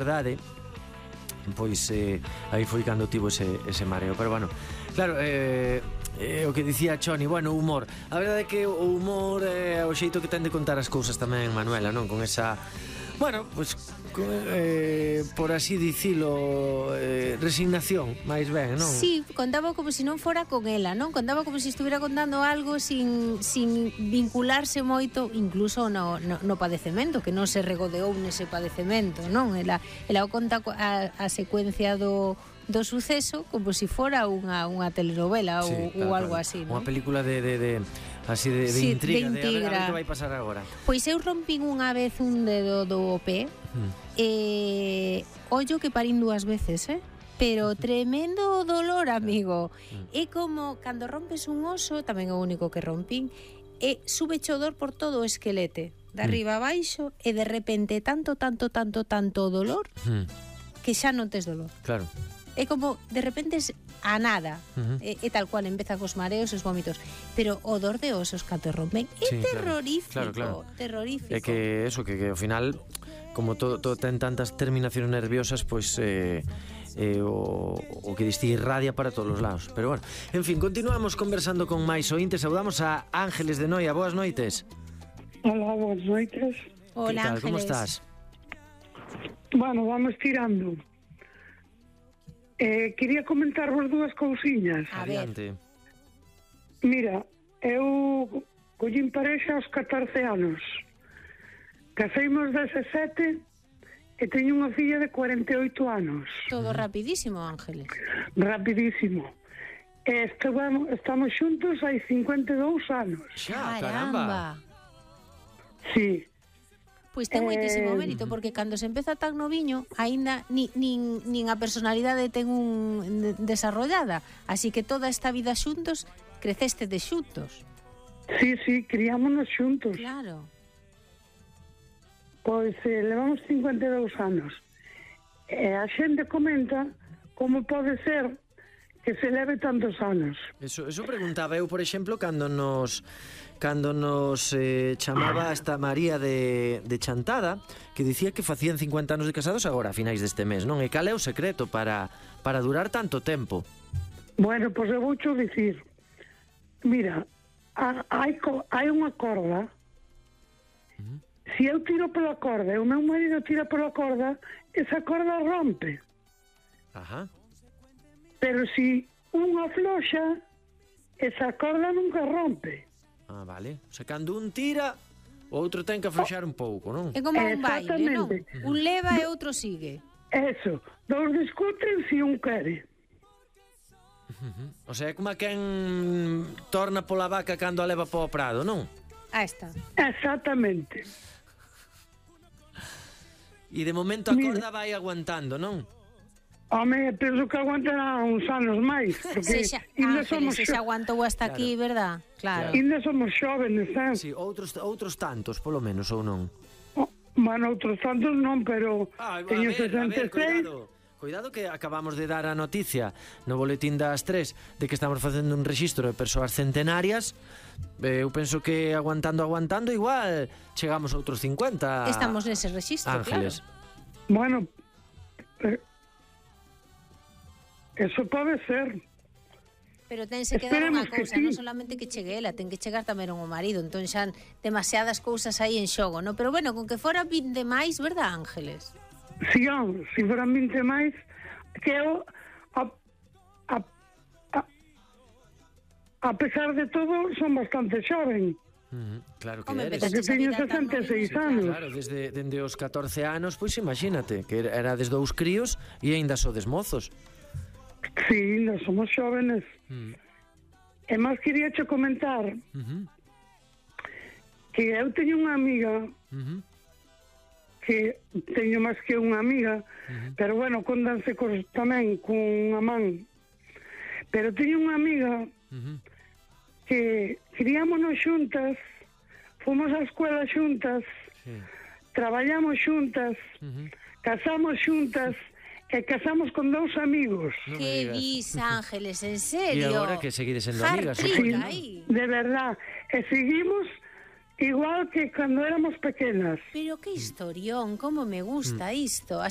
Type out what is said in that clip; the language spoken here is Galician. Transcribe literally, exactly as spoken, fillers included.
verdade, pois eh, aí foi cando tivo ese, ese mareo. Pero bueno, claro, eh, eh, o que dicía Choni, bueno, o humor. A verdade é que o humor é o xeito que ten de contar as cousas tamén, Manuela, non? Con esa, bueno, pois con, eh, por así dicilo, eh, resignación, máis ben, non? Sí, contaba como se non fora con ela, non? Contaba como se estuviera contando algo sin, sin vincularse moito, incluso no, no, no padecemento, que non se regodeou nese padecemento, non? Ela, ela o conta a, a secuencia do do suceso como se si fora unha, unha telenovela ou, sí, claro, ou algo claro. así, Unha non? película de, de, de así de, de sí, intriga, de intriga, de a ver, a ver que vai pasar agora. Pois eu rompín unha vez un dedo do pé, hmm. e ollo que parín dúas veces, eh? Pero tremendo dolor, amigo. Hmm. É como cando rompes un oso, tamén é o único que rompín, e sube cho dor por todo o esquelete, de arriba a baixo, e de repente tanto, tanto, tanto, tanto dolor, hmm. que xa non tes dolor. Claro. É como, de repente, a nada. Uh-huh. e, e tal cual, empeza cos mareos e os vómitos. Pero o dor de osos cando rompen é sí, terrorífico. Claro, claro. Terrorífico. É que eso, que, que ao final, como todo, todo ten tantas terminacións nerviosas, pois eh, eh, o, o que diste irradia para todos os lados. Pero bueno, en fin, continuamos conversando con máis ointes. Saudamos a Ángeles de Noia. Boas noites. Hola, boas noites. Hola, Ángeles. Como estás? Bueno, vamos tirando. Eh, quería comentar vos dúas cousiñas. Adiante. Mira, eu collín parexa aos catorce anos. Caseimos dezasete e teño unha filla de cuarenta e oito anos. Todo rapidísimo, Ángeles. Rapidísimo. E estamos, estamos xuntos hai cincuenta e dous anos. Xa, caramba. Sí. Pois ten moitísimo mérito, porque cando se empeza tan noviño, aínda ni, nin, nin a personalidade ten un desarrollada, así que toda esta vida xuntos, creceste de xuntos. Sí, sí, criámonos xuntos. Claro. Pois eh, levamos cincuenta e dous anos. E a xente comenta como pode ser que se leve tantos anos. Eso, eso preguntaba eu, por exemplo, cando nos cando nos eh, chamaba esta María de, de Chantada, que dicía que facían cincuenta anos de casados agora, a finais deste mes, non? E cal é o secreto para, para durar tanto tempo? Bueno, pois eu voucho dicir, mira, a, hai, hai unha corda, uh-huh. Se eu tiro pola corda e o meu marido tira pola corda, esa corda rompe. Ajá. Pero se unha afloxa, esa corda nunca rompe. Ah, vale. O sea, cando un tira, o outro ten que afloxar un pouco, non? É como un baile, non? Un leva e outro sigue. Eso. Dous discuten se un quere. Uh-huh. O sea, é como a quen torna pola vaca cando a leva po prado, non? Ah, está. Exactamente. E de momento a corda vai aguantando, non? Home, penso que aguantará uns anos máis, porque se xa, ainda Ángeles, somos se xa aguantou hasta claro. Aquí, verdad? Claro. Ainda somos xóvenes, eh? Sí, outros, outros tantos, polo menos, ou non? Oh, bueno, outros tantos non, pero ah, teño ver, sesenta e seis. Cuidado. Cuidado que acabamos de dar a noticia no boletín das tres de que estamos facendo un rexistro de persoas centenarias. eh, Eu penso que aguantando, aguantando, igual chegamos a outros cincuenta. Estamos nese rexistro, Ángeles. Claro. Bueno, eh, eso pode ser. Pero tense que dar unha cousa, sí. Non solamente que chegue ela, ten que chegar tamén o marido. Entón xa demasiadas cousas aí en xogo, non? Pero bueno, con que fora vinte máis, verdad, Ángeles? Si, sí, oh, si foran vinte máis, que eu a, a, a, a pesar de todo son bastante xoven. Uh-huh. Claro que Home, eres. Porque teño sesenta e seis anos. Claro, desde, desde os catorce anos, pois imagínate, que era desde dous críos e aínda sodes mozos. Sí, nós somos xóvenes. Uh-huh. E máis quería che comentar uh-huh. que eu teño unha amiga uh-huh. que teño máis que unha amiga, uh-huh. pero bueno, condanse cos, tamén con unha man. Pero teño unha amiga uh-huh. que criámonos xuntas, fomos á escuela xuntas, sí. Traballamos xuntas, uh-huh. casamos xuntas e casamos con dous amigos. No que dis, Ángeles, en serio? E agora que seguides sendo amigas. Sí, de verdad. E seguimos igual que cando éramos pequenas. Pero que historión, como me gusta mm. isto. Así